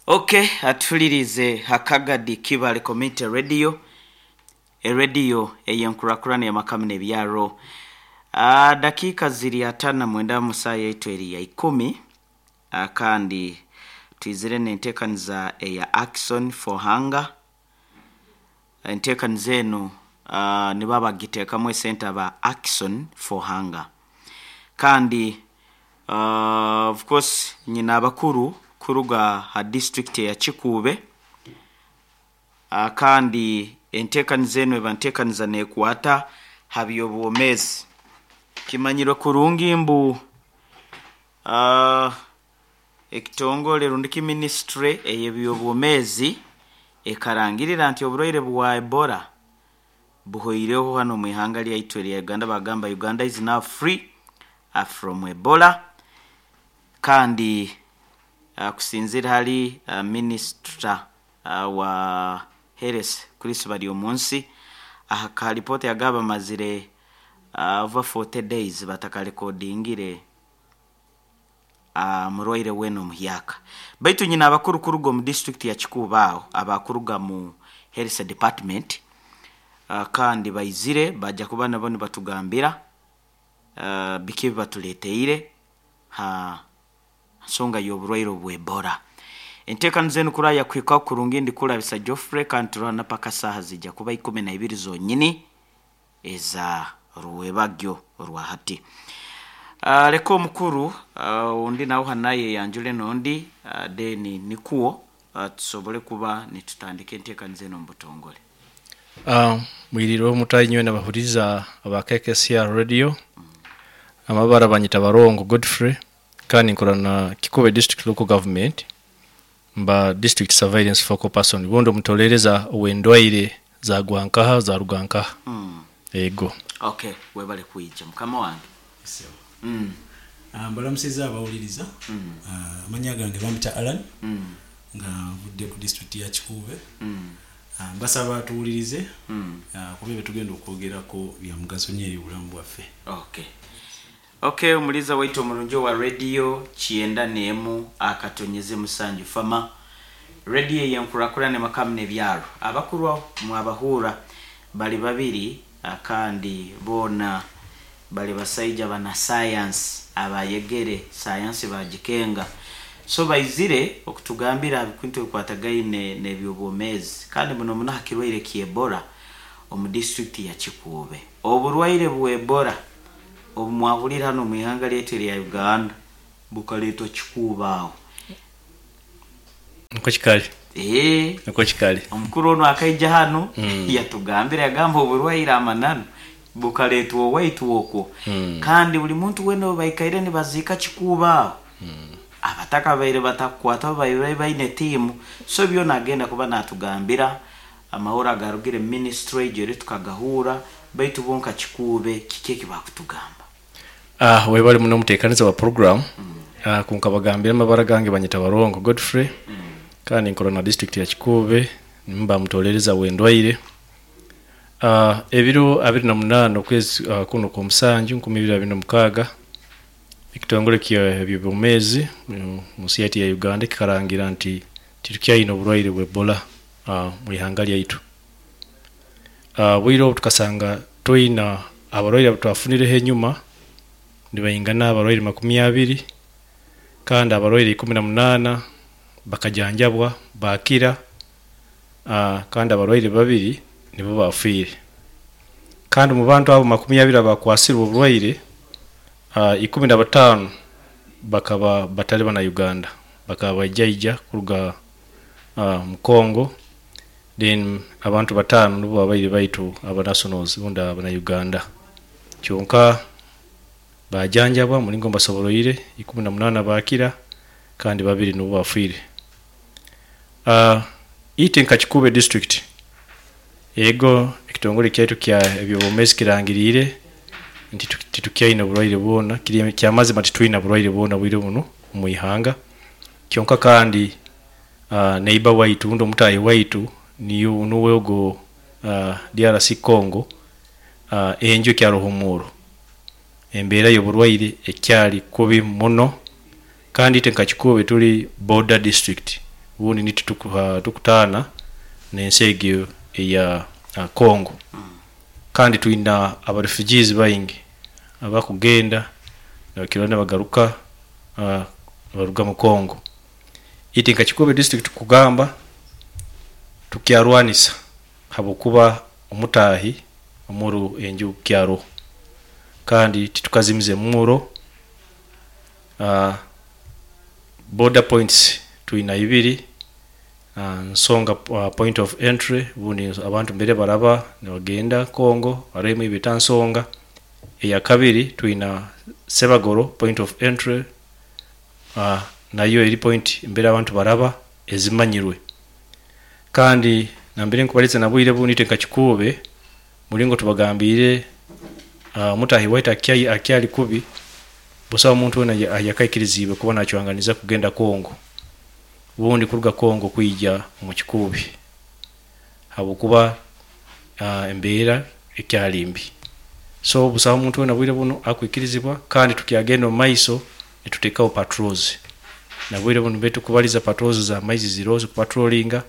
Okay, atuhulirize Hakagadi Kibale Community Radio, erediyo ey'enkurakurana y'amakamu n'ebyaro. Dakiika ziri 59 mu saaha yaitu eri ya 10, kandi twizire n'enteekaniza eya Action for Hunger. Enteekaniza enu nibo abagiteekamu esente aba Action for Hunger. Kandi of course nyine abakuru kuruga ha district eya Kikuube, kandi enteekaniza enu eba nteekaniza neekwata ha by'obwomeezi. Kimanyirwe kurungi mbu ekitongole rundi ki minisitule ey'ebyobwomeezi ekarangirira nti oburwaire bwa Ebola buhoireho hanu omu ihanga lyaitu erya Uganda. Bagamba Uganda is now free from Ebola, kandi kusinziira hali minisita wa Health Chris Baryomunsi, aha ka lipoota yagamba bamazire over 40 days batakarekodingire murwaire weena omuhyaka. Baitu nyine abakuru kuruga omu disiturikiti ya Kikuube aho abakuruga mu Health Department, kandi baizire baija kuba nabo nibatugambira biki ebi batuleeteire ha nsonga y'oburwaire obw'Ebola. Enteekaniza enu kuraba yakuhikaho kurungi, ndi Kurabisa Geoffrey, kandi turwana paka saaha ziija kuba 12 zonyini eza rwebagyo orwa hati. Leka omukuru ondi nawe hanu ayeyanjule n'ondi, then nikwo tusobole kuba nitutandika enteekaniza enu omu butongole. Mwiriirwe mutayi nyowe nabahuriza aba KKCR Radio. Amabara banyita Barongo Godfrey, kandi nkora na Kikuube District Local Government, mba District Surveillance Focal Person, bundi omutolereza ow'endwaire zagwa nkaha zaruga nkaha. Ego. Okay, webale kwija mukama wange. Mbalamusiza abawuliriza. Amannya gange bampita Allan, nga nvudde ku disitulikiti ya Kikuube. Mbasaba tuwulirize, kuba ebyo tugenda okwogerako bya mugaso nnyo eri obulamu bwaffe. Okay, omuliza waitu omurungi owa radio 91.7 Fama Radio ey'enkurakurana emakamu n'ebyaro. Abakuru mwabahuura bali babiri, kandi boona bali basaija bana sayansi abayegere sayansi bagikenga. So baizire okutugambira ha bintu ebikwatagaine n'ebyobwomeezi, kandi muno muno ha kirwaire ky'Ebola omu disiturikiti ya Kikuube. Oburwaire bwa Ebola obu mwahulire hanu omu ihanga lyaitu erya Uganda bukaleetwa Kikuube aho. Nikwo kikali. Nikwo kikali. Omukuru onu akaija hanu yatugambira, yagamba oburwaire amananu bukaleetwa owaitu okwo. Kandi buli muntu weena obu baikaire nibaziika Kikuube aho, abatakabaire batakukwatwaho babaire baine tiimu. So byona agenda kuba naatugambira amahoro agarugire mu minisitule egyo eri tukagahuura, baitu bo nka Kikuube kiki eki bakutugamba? Webale muno omuteekaniza wa program. Kunkabagambira amabara gange banyeta Barongo Godfrey, kandi nkora na district ya Kikuube, mba mutolereza w'endwaire. Ebiro 28 okwezi kuno okw'omusanju 2026, ekitongole ky'ebyobwomeezi mu nsi yaitu ya Uganda kikarangira nti titukyaine oburwaire bwa Ebola mu ihanga lyaitu. Obwire obu tukasanga twina abarwaire abu twafunireho enyuma nibaingana abarwaire 20, kandi abarwaire 18 bakajanjabwa baakira, kandi abarwaire babiri nibo baafiire. Kandi omu bantu abo 20 abakwasirwe oburwaire, 15 bakaba batali bana Uganda, bakaba baijaija kuruga mu Congo, then abantu 5 nibo babaire baitu aba nationals rundi abana Uganda. Kyonka bajanjabwa mulingo mbasoboroire, 18 baakira kandi 2 nibo bafiire. Itwe nka Kikuube district, ego ekitongole kyaitu kya ebyobwomeezi kirangiriire nti titukyaine oburwaire bwona, kiri kyamazima titwine burwaire bwona bwire bunu omu ihanga. Kyonka kandi neighbor waitu rundi omutaahi waitu niyo nuwe ogo DRC Congo, enju ekyaroho omuuro. Embeera y'oburwaire ekyali kubi muno, kandi itwe nka Kikuube tuli border district. Ubundi nitwe tukutaana n'ensi egyo eya Congo. Kandi twina aba refugees baingi abakugenda nibakira nibagaruka baruga mu Congo. Iti nka Kikuube district kugamba tukyarwanisa habwokuba omutahi omuro enju kyaroho, kandi titukazimize emuro. Border points twina ibiri, Nsonga point of entry, bundi abantu mbere baraba nibagenda Congo, hariho emwe beta Nsonga. Eya kabiri twina Sebagoro point of entry, nayo eri point mbere abantu baraba ezimanyirwe. Kandi nambere nkubaliza na bwire bundi nka Kikuube mulingo tubagambire, omutahi waitu akyali kubi, busaho omuntu wena ayakaikirizibwe kuba nachwanganiza kugenda Congo, bundi kuruga Congo kwija omu Kikuube, habwokuba embeera ekyali mbi. So busaho omuntu wena bwire buno akwikirizibwa, kandi tukyagenda omu maiso nitutekaho patrols. Na bwire buno mbe tukubaliza patrols za maizi ziroho zikupatrolinga,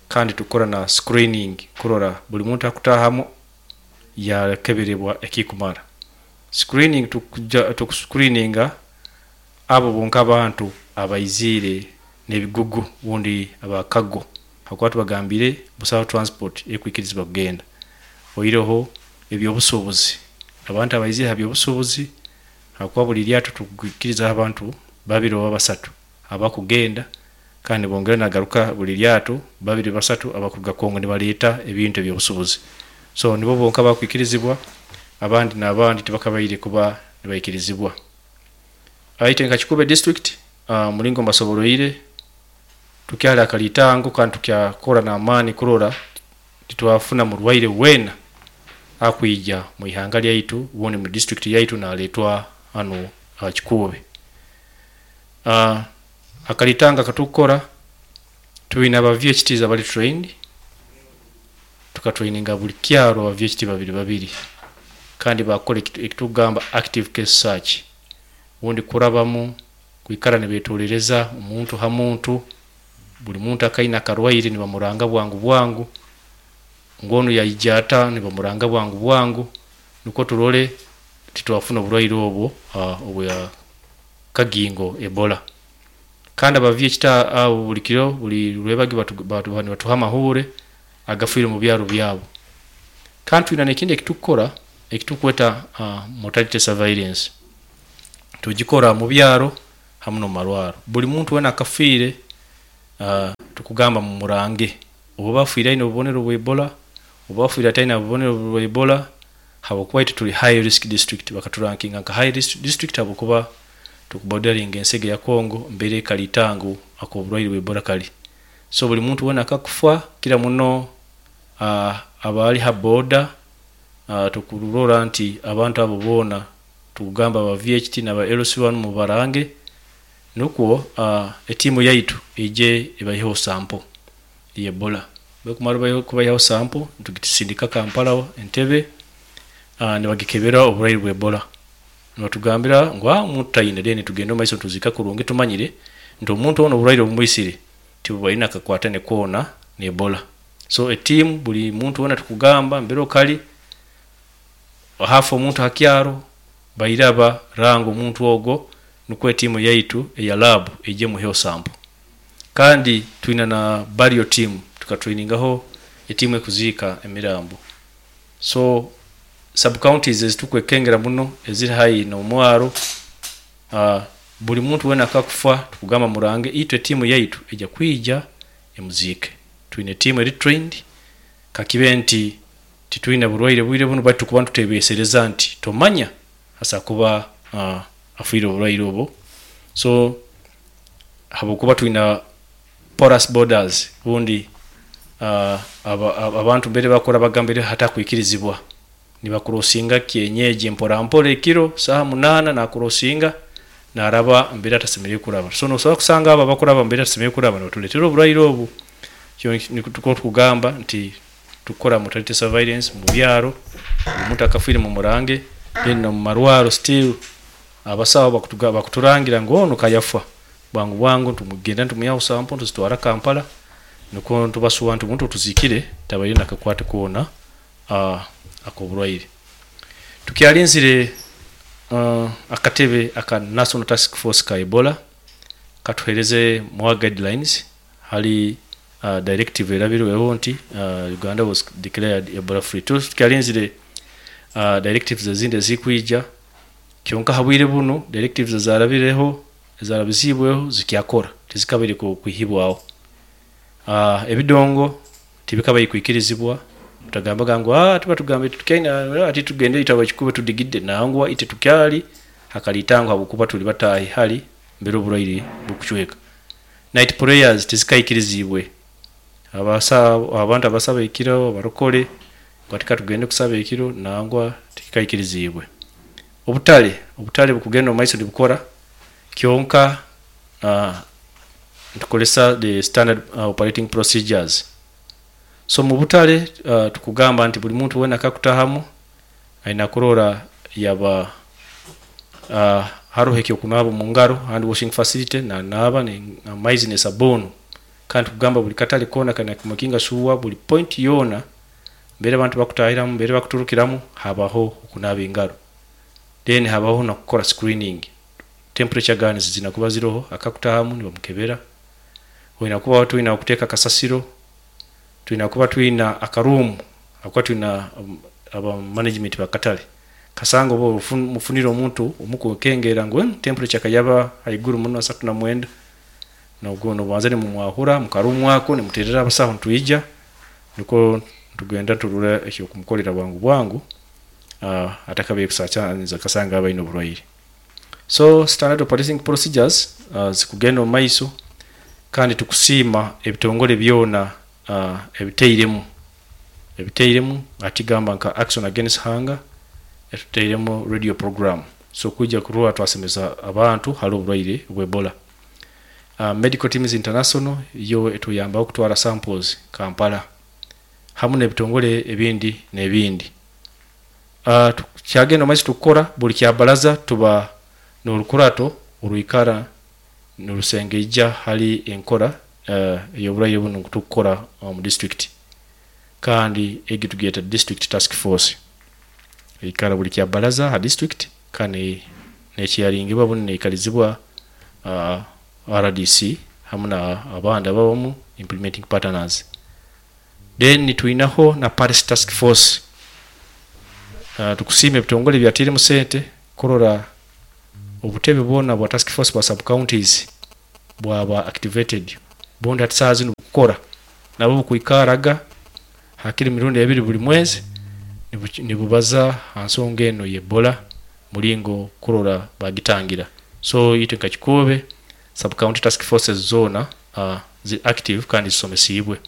kandi tukora na screening kurora buli muntu akutahamu yakeberebwa ekikumara. Screening tukuscreeninga abo bonka abantu abaizire n'ebigugu bundi abakago, hakuba tubagambire busaho transport ekwikirizibwa kugenda. Oireho ebyobusuubuzi, abantu abaizire ha byobusuubuzi, hakuba buli lyato tukwikiriza abantu 2 oba 3 abakugenda, kandi bongera nagaruka buli lyato 2 3 abakuruga Congo nibaleta ebintu ebyobusuubuzi. So nibo bonka bakwikirizibwa, abandi n'abandi tibakabaire kuba nibaikirizibwa. Aite nka Kikuube district, mulingo mbasoboroire tukyali akalitango, kandi tukyakora n'amaani kurora titwafuna murwaire wena akwija mu ihanga lyaitu bundi mu district yaitu naletwa hano Kikuube. Akalitanga katukora twina aba VHTs abali trained, tukatraininga buli kyaro aba VHT babiri babiri, kandi bakora ekitugamba active case search, bundi kurabamu kwikara nibetorereza omuntu ha muntu, buli muntu akaina akarwaire nibamuranga bwangu bwangu, ngono yaija ata nibamuranga bwangu bwangu, nukwo turole titwafuna oburwaire obwo obwa kagingo Ebola. Kandi aba VHT abo buli kiro buli lwebagi nibatuha amahure agafiire mu byaro byabo. Kandi twina n'ekindi ekitukora ekitukweta mortality surveillance, tugikora mu byaro hamu n'omu marwaro. Buli muntu wena akafiire, tukugamba mumurange, oba afiire aine obubonero bwa Ebola oba afiire ataine obubonero bwa Ebola, habwokuba itwe tuli high risk district, bakaturankinga nka high risk district habwokuba tukubodaringa ensi ya Congo mbere kalitango ak'oburwaire bwa Ebola kali. So buli muntu wena akakufa kira muno abali ha border, tukurora nti abantu abo boona tukugamba aba VHT n'aba LC1 mubarange, nukwo etimu yaitu ije ebaiheho sample ya Ebola. Bekumara kubaihaho sample tugisindika Kampala Entebbe, nibagikebera oburwaire bwa Ebola, nibatugambira ngu omuntu tayina, then tugenda omu maiso tuzika kurungi, tumanyire nti omuntu ono oburwaire obumwisire tibwaine akakwatane koona na Ebola. So etimu buli muntu wena tukugamba mbere okali hafa omuntu hakyaro bairaba ranga omuntu ogwo, nukwo etimu yaitu eya lab ije muheho sample. Kandi twina na burial team, tukatrainingaho etimu ekuziika emirambo. So sub counties ezitukwekengera muno eziri haihi n'omwaro, buli muntu wena akakufa tukugamba murange, itwe etimu yaitu ejja kwija emuziike. Twine etimu eri trained, kakibe nti titwine burwaire bwire buno, baitu tukuba nitutebesereza nti tomanya asa kuba afiire oburwaire obwo. So habwokuba twina porous borders, bundi abantu mbere bakora bagambire hatakwikirizibwa, nibakurosinga kienyeji mpora mpora ekiro saha 8 nakurosinga naraba mbere atasemerere kuraba. So nosobola kusanga abo abakuraba mbere atasemerere kuraba nibatuletera oburwaire obu. Kyo niko tukugamba nti tukora mortality surveillance mu byaro, omuntu akafiire mu murange, then no mu marwaro still abasawo bakuturangira ngu ono kayafa, Bwangu bwangu tumugenda ntumwihaho sample, ntuzitwara Kampala, nukwo ntubasuba nti omuntu tuzikire tabaire nakakwate koona ak'oburwaire. Tukyalinzire akatebe aka National Task Force ka Ebola katuhereze more guidelines hali directive erabirweho nti Uganda was declared Ebola free. Tukyalinzire directives ezindi ezikwija, kyonka habwire bunu directives ezarabireho, ezarabizibweho, zikyakora, tizikabaire kwihibwaho. Ebidongo tibikabaire kwikirizibwa. Tutagambaga ngu tuba tugambire tukaina ati tugende itaba kikube tudigidde, nangwa ite tukyali hakalitango habwokuba tuli batahi hali mbere oburwaire bukucweka. Night prayers tizikaikirizibwe. Abantu abasaba ekiro, abarokole katika tugende kusaba ekiro, nangwa tikikaikirizibwe. Obutale bukugenda omu maiso nibukora, kyonka ntukolesa the standard operating procedures. So mu butale tukugamba nti buli muntu wena akakutahamu aina kurora yaba haroho ekyokunaaba mu ngaro, hand washing facility, na naaba amaizi ne sabuni. Kandi tukugamba buli katale koona kana kumakinga shuwa buli point yona mbere abantu bakutahiramu, mbere bakuturukiramu, habaho okunaaba engaro. Then habaho na kukora screening. Temperature guns zinakuba ziroho, akakutahamu nibamukebera. Wena kuba twina kuteka kasasiro, twina kuba twina akarumu, akuba twina aba management bakatale. Kasanga obo mufunira omuntu omukukengera ngu temperature kayaba haiguru muno 39, nogwo nobanza ni mumwahura mukarumu ako nimuterera abasaho ntwija, niko tugenda turura ekyo kumukolera bwangu bwangu atakabe kusacha kasanga abaine oburwaire. So standard operating procedures zikugenda omu maiso, kandi tukusiima ebitongole byona ebiteiremu atigamba nka Action Against Hunger etuteiremu radio program, so kwijja kurora twasemeza abantu hali oburwaire bwa Ebola. Medical Teams International yo etuyambaho kutwara samples Kampala hamu n'ebitongole ebindi n'ebindi. Kyagenda omaiso tukukora buli kyabaraza tuba n'orukurato oruikara n'orusengeija hali enkora ey'oburwaire bunu tukukora omu district, kandi egi tugiyeta district task force, eikara buli kyabaraza ha district, kandi nekyaringibwa bunu neikalizibwa RDC hamu na abandi ababamu implementing partners. Then twinaho na Paris task force. Tukusiima ebitongole byatiremu sente kurora obutebe bwona bwa task force bwa sub counties bwaba activated, bundi hati saa zinu bukukora nabo bukwikaraga hakiri mirundi ebiri buli mwezi nibubaza ha nsonga eno y'Ebola mulingo kurora bagitangira. So itwe nka Kikuube sub county task forces zona zi active kandi zisomesibwe.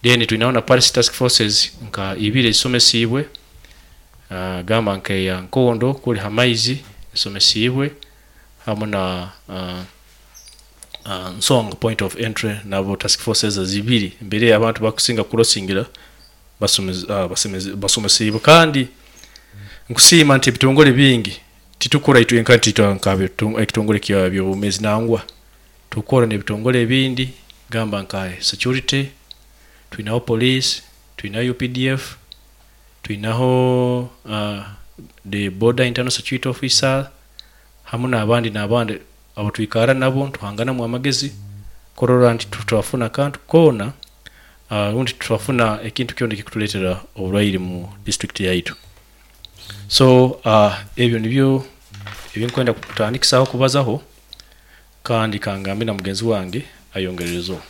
Then twinaho na Paris task forces nka ibiri ezisomesibwe, gamba nka eya Nkondo kuli hamaizi esomesibwe, hamu na Nsonga point of entry, nabo task forces zibiri mbere abantu bakusinga kurosingira basomesibwe. Kandi nkusiima nti ebitongole bingi titukora itwe nka nti nka ekitongole kya byobumezi, nangwa tukora n'ebitongole ebindi gamba nka security, twinaho police, twinaho UPDF, twinaho the border internal security officer, hamu n'abandi n'abandi abo twikara nabo tuhanganamu amagezi kurora nti tutwafuna akantu koona, rundi tutwafuna ekintu kyona ekikutuleetera oburwaire mu district yaitu. So ebyo nibyo ebinkwenda kutandikisaho kubazaho, kandi kangambe na mugenzi wange ayongererezo.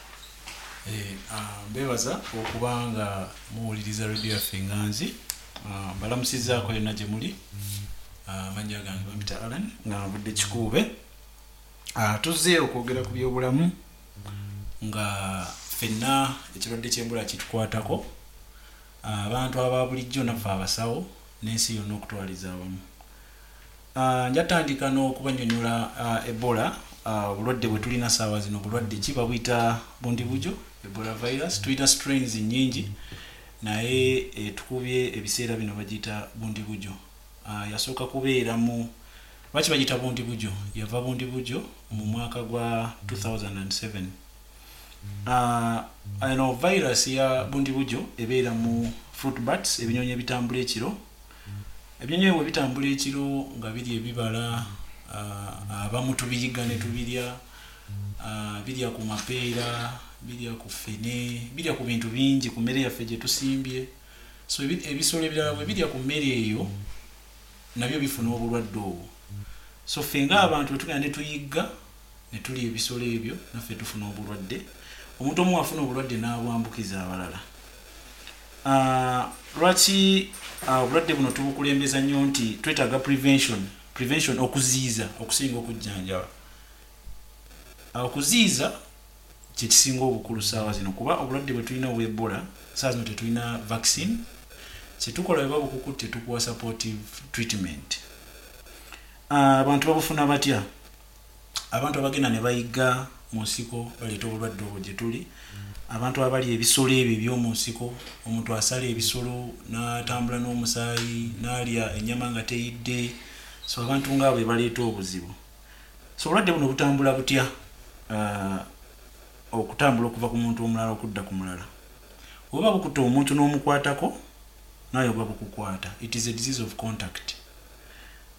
Mbebaza okubanga muwuliriza radio yaffe Enganzi. Mbalamusizaako yonna gye muli. Amannya gange bampita Alan nga nvudde Kikuube. Tuzze okwogera ku byobulamu nga ffenna ekirwadde ky'Ebola kitukwatako, abantu aba bulijjo naffe abasawo n'ensi yonna okutwaliza awamu. Njatandika n'okubanyonyola Ebola, obulwadde bwe tulina saawa zino bulwadde ki? Babuyita bundibujo Ebola virus. Tulina strains nnyingi naye etukubye ebiseera bino bagiyita bundibujo. Yasooka kubeera mu Lwaki bagiyita Bundibugyo? Yava Bundibugyo mu mwaka gwa 2007. Eno virus ya Bundibugyo ebeera mu fruit bats, ebinyonyi ebitambula ekiro. Ebinyonyi ebyo bwe bitambula ekiro nga birya ebibala, abamu tubiyiga ne tubirya, birya ku mapeera, birya ku ffene, birya ku bintu bingi ku mmere yaffe gye tusimbye. So ebisolo ebirala bwe birya ku mmere eyo nabyo bifuna obulwadde obwo. So ffe ng'abantu bwe tugenda ne tuyigga ne tulya ebisolo ebyo, naffe tufuna obulwadde. Omuntu omu afuna obulwadde n'abwambukiza abalala. Lwaki obulwadde buno tubukulembeza nnyo nti twetaaga prevention, okuziyiza okusinga okujjanjaba? Okuziyiza kyekisinga obukulu saawa zino, kuba obulwadde bwe tulina obwa Ebola saawa zino tetulina vaccine. Kyetukola bwe babukukutte tukuwa supportive treatment. Abantu babufuna batya? Abantu abagenda ne bayigga mu nsiko baleeta obulwadde obwo gye tuli. Abantu abalya ebisolo ebyo eby'omu nsiko, omuntu asala ebisolo n'atambula n'omusaayi, n'alya ennyama nga teyidde, so abantu ngaabo be baleeta obuzibu. So obulwadde buno butambula butya? Okutambula okuva ku muntu omulala okudda ku mulala, oba bukutta omuntu n'omukwatako, naye oba bukukwata. It is a disease of contact.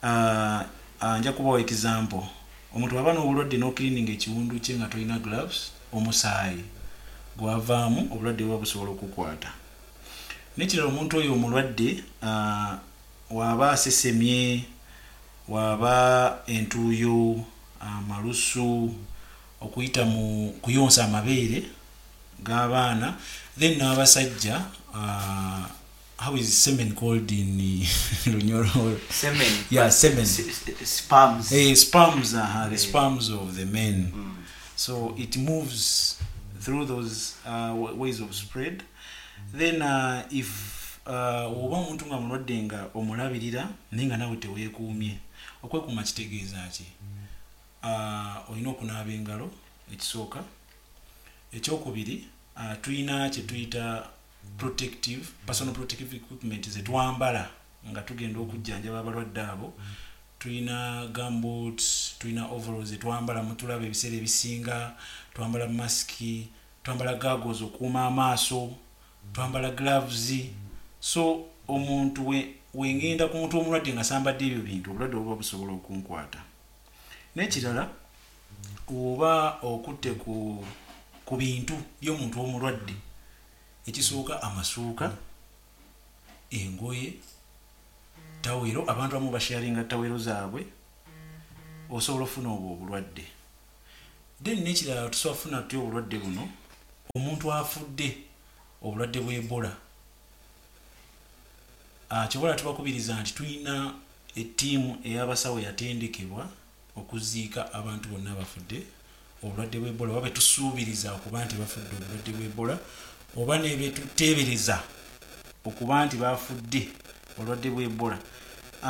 Nja kubawa example. Omuntu aba n'obulwadde n'ocleaninga ekiwundu kye nga tolina gloves, omusaayi gwavaamu, obulwadde buba busobola okukwata. Nekirala, omuntu oyo omulwadde waaba asesemye, waaba entuuyo, amalusu, okuyita mu kuyonsa amabeere g'abaana, then n'abasajja, how is semen called in Lunyoro? Semen. Yeah, semen. Sperms. Hey, sperms, the sperms of the men. So it moves through those ways of spread. Then if oba omuntu nga mulwadde nga omulabirira naye nga nawe teweekuumye. Okwekuuma kitegeeza ki? Olina okunaaba engalo ekisooka. Ekyokubiri, tulina kye tuyita protective, personal protective equipment ze twambala nga tugenda okujjanjaba abalwadde abo. Tulina gumboots, tulina overalls zetwambala, mutulaba ebiseera ebisinga twambala masiki, twambala goggles okuuma amaaso, twambala gloves. So omuntu wengenda ku muntu omulwadde nga sambadde ebyo bintu, obulwadde buba busobola okunkwata. N'ekirala, oba okutte ku bintu by'omuntu omulwadde, ekisooka amasuuka, engoye, tawero, abantu abamu basharinga tawero zaabwe, osobola ofuna obwo obulwadde. Then n'ekirala, tusobola kufuna tutya obulwadde buno? Omuntu afudde obulwadde bwa Ebola, kyobola tubakubiriza nti tulina ettiimu ey'abasawo yatendekebwa okuziika abantu bonna abafudde obulwadde bwa Ebola, oba betusuubiriza okuba nti bafudde obulwadde bwa Ebola, oba nebetuteebereza okuba nti bafudde obulwadde bwa Ebola.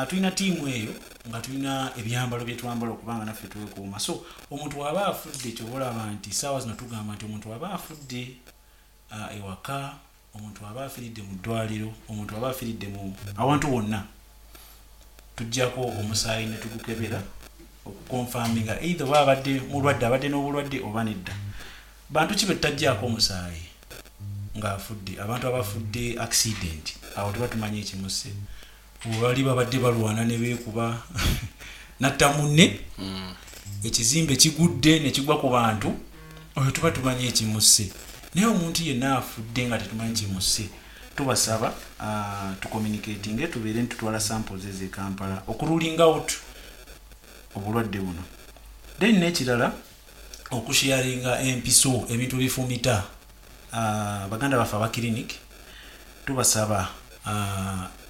Tulina ttiimu eyo nga tulina ebyambalo byetwambala okubanga naffe twekuuma. So omuntu waba afudde, kyoba olaba nti saawa zino tugamba nti omuntu waba afudde ewaka, omuntu aba afiiridde mu ddwaliro, omuntu aba afiiridde mu awantu wonna, tujjako omusaayi ne tugukebera okuconfirminga either oba abadde mulwadde, abadde n'obulwadde oba nedda. Bantu ki betutajjaako omusaayi ng'afudde? Abantu abafudde accident, awo tuba tumanyi ekimusse. Bali babadde balwana ne beekuba, natta munne, ekizimbe kigudde ne kigwa ku bantu, oyo tuba tumanyi ekimusse. Naye omuntu yenna afudde nga tetumanyi kimusse, tubasaba tucommunicatinge, tubeere nitutwala samples ezo e Kampala okuruling out obulwadde buno. Then n'ekirala, okusharinga empiso, ebintu bifumita. Baganda baffe aba clinic, tubasaba,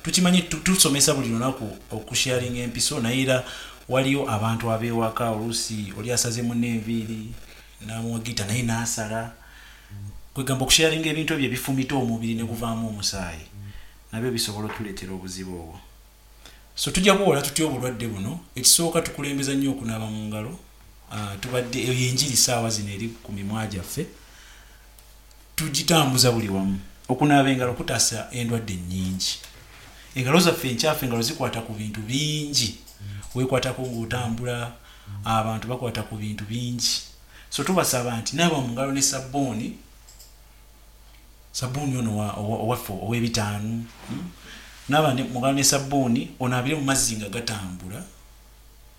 tukimanyi tusomesa buli lunaku okusharinga empiso, naye era waliyo abantu ab'ewaka, oluusi oli asaze munne enviiri n'amuwagita naye n'asala. Kwegamba okusharinga ebintu ebyo ebifumita omubiri ne guvaamu omusaayi nabyo bisobola otuleetera obuzibu obwo. So tujja kuwola tutya obulwadde buno? Ekisooka, tukulembeza nnyo okunaaba mu ngalo. Tubadde eyo enjiri saawa zino eri ku mimwa gyaffe, tugitambuza buli wamu. Okunaaba engalo kutaasa endwadde nnyingi. Engalo zaffe enkyafu, engalo zikwata ku bintu bingi. Wekwatako ngaotambula, abantu bakwata ku bintu bingi. So tubasaba nti naaba mu ngalo ne sabbuuni, sabbuuni ono owaffe ow'ebitaano. Naaba mu ngalo ne sabbuuni, onaabire mu mazzi nga gatambula.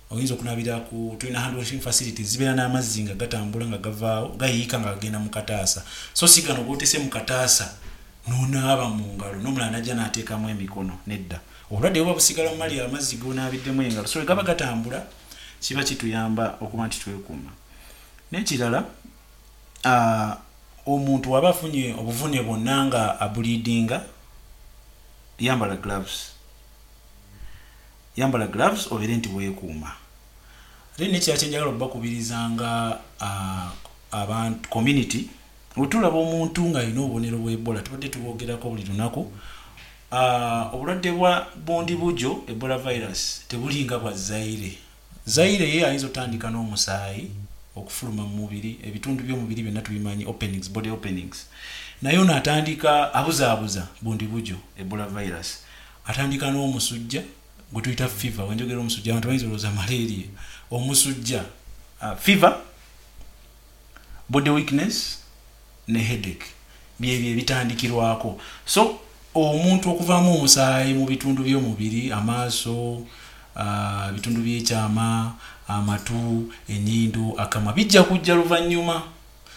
Oyinza okunaabira ku, tulina hand washing facilities, zibeera n'amazzi nga gatambula, nga gavaawo, gayiika nga gagenda mu kataasa. So si gano gotese mu kataasa nonaaba mu ngalo, n'omulala najja n'ateekamu emikono. Nedda, obulwadde buba busigala mu mali amazzi gonaabiddemu engalo. So gaba gatambula, kiba kituyamba okuba nti twekuuma. N'ekirala, omuntu waba afunye obuvune bwonna nga ableedinga, yambala gloves, yambala gloves, obeere nti weekuuma. Then nekirala kyenjagala okubakubiriza nga abantu community, wetulaba omuntu ng'alina obubonero bwa Ebola, tubadde tubwogerako buli lunaku. Obulwadde bwa Bundibugyo Ebola virus tebulinga bwa Zaire. Zaire ye ayinza otandika n'omusaayi okufuluma mu mubiri, ebitundu by'omubiri byonna tubimanyi, openings, body openings. Naye ono atandika abuzaabuza. Bundibugyo Ebola virus atandika n'omusujja gwe tuyita fever. Wenjogera omusujja, abantu bayinza olowooza malaria. Omusujja, fever, body weakness ne headache, byebyo ebitandikirwako. So omuntu okuvaamu omusaayi mu bitundu by'omubiri, amaaso, bitundu by'ekyama, amatu, enyindo, akamwa, bijja kujja luvannyuma.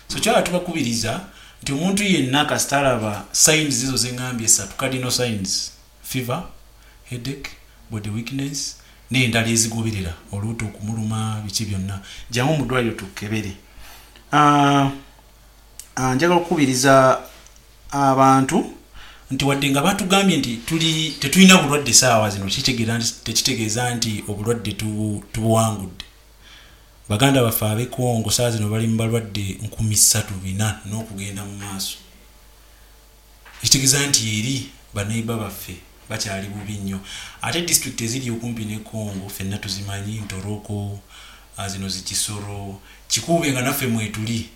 So kyala tubakubiriza nti omuntu yenna kasita alaba signs ezo zeŋŋambye esatu, cardinal signs, fever, headache, body weakness n'endala ezigoberera, oluuto okumuluma, biki byonna, jangu mu ddwaliro tukebere. Njagala okukubiriza abantu nti wadde nga batugambye nti tuli tetulina bulwadde saawa zino, tekitegeeza nti obulwadde tubuwangudde. Baganda baffe ab'e Kongo saawa zino bali mu balwadde 3400 n'okugenda mu maaso, ekitegeeza nti eri baneiba baffe bakyali bubi nnyo. Ate disitulikiti eziri okumpi ne Congo ffenna tuzimanyi, Ntoroko, zino zikisoro, Kikuube, nga naffe mwetuli.